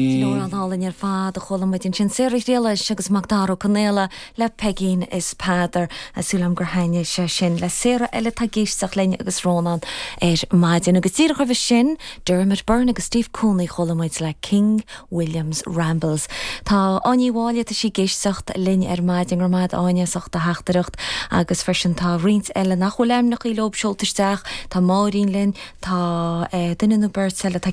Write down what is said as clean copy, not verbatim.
Sin amhrán álainn ar fad a chuala muid ansin, Sarah Ghriallais agus Macdara Ó Conaola le Peigín is Peadar. Tá súil agam gur thaitnigh sé sin le Sarah eile atá ag éisteacht linn agus Rónán ar maidin. Agus díreach roimhe sin, Dermot Byrne agus Steve Cooney chuala muid le King William's Rambles. Tá Áine Uí Mháille, tá sí ag éisteacht linn ar maidin. Go raibh maith agat Áine as ucht do theachtaireacht agus freisin tá roinnt eile nach bhfuil ainmneachaí leob seolta isteach. Tá Máirín linn, tá duine nó beirt eile atá.